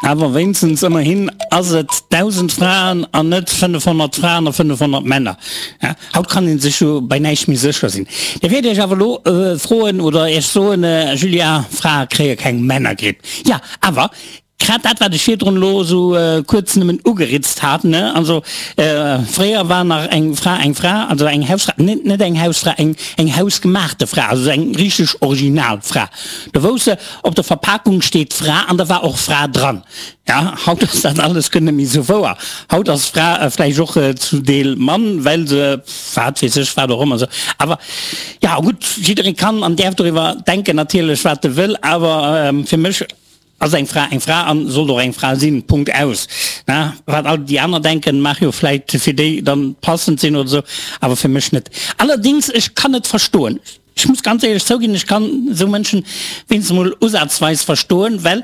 Awer wéinstens ëmmerhin ass et 1.000 Fraen an net 500 Fraen a 500 Männer. Haut kann ee sech jo bei näischt méi sécher sinn. Dir wäert Iech awer elo froen oder Iech soen, Julia, Frae kréie keng Männergripp. Jo, awer grad dat, wat ech virdrun elo esou kuerz nëmmen ugeritzt hat, ne, also fréier war nach eng Fra eng Fra, also eng Hausfra, net net eng Hausfra, eng eng hausgemaachte Fra, also eng richteg original Fra. Do wouss se, Op der Verpakung steet Fra an da war och Fra dran. Ja, haut ass dat alles guer net méi esou wouer. Haut ass Fra vläicht och zu Deel Mann, well se wat weess ech wat och ëmmer esou. Awer ja gutt, jidderee kann an däerf doriwwer denken natierlech wat e wëll, awer fir mech ass eng Fra eng Fra an sollt och eng Fra sinn, Punkt aus. Na, wat all déi aner denken, mag jo vläicht fir déi dann passend sinn oder esou, awer fir mech net. Allerdings, ech kann et verstoen. Ech muss ganz éierlech zouginn, ech kann esou Mënschen wéinstens emol usazweis verstoen, well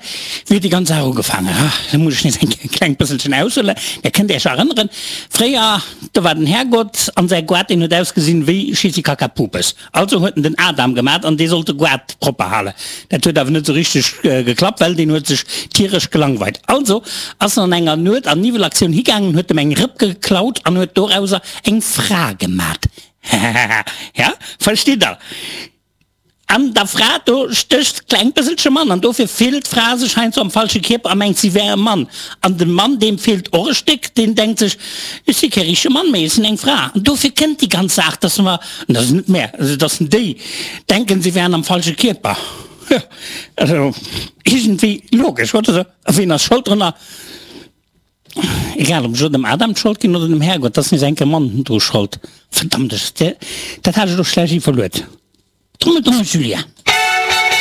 wéi huet déi ganz Saach ugefaangen? Ah, da muss ech nees eng kleng bësselchen aushuelen. Där kënnt Iech erënneren, fréier, do war den Härgott an säi Goart, deen huet ausgesinn wéi Schissi-Kaka-Pupes. Also huet en den Adam gemat an dee sollt de Goart propper halen. Dat huet awer net esou richteg geklappt, well deen huet sech tieresch gelangweilt. Also ass en an enger Nuet an Niwwelaktioun higaangen, huet em eng Rëpp geklaut an huet dorauser eng Fra gemat. Hahaha, ja, verstitt der? An der Fra do stécht klengt bësselche Mann, an dofir fillt d'Fra sech heiansdo am falsche Kierper a mengt, si wär e Mann. An de Mann, deem feelt och e Stéck, deen denkt sech, ech si kee richtege Mann méi, ech sinn eng Fra. An dofir kënnt déi ganz Saach, dass mer, an dat ass net mär, also dass déi denken, si wären am falsche Kierper. Jo, also iergendwéi logesch, oder? A wien ass Schold drënner? Egal ob ech elo dem Adam d'Schold ginn oder dem Härgott, 't ass nees enke Mann dru Schold. Verdammt, ech, dat hat ech elo schlecht iwwerluet. Trommel, Trommel, Julia.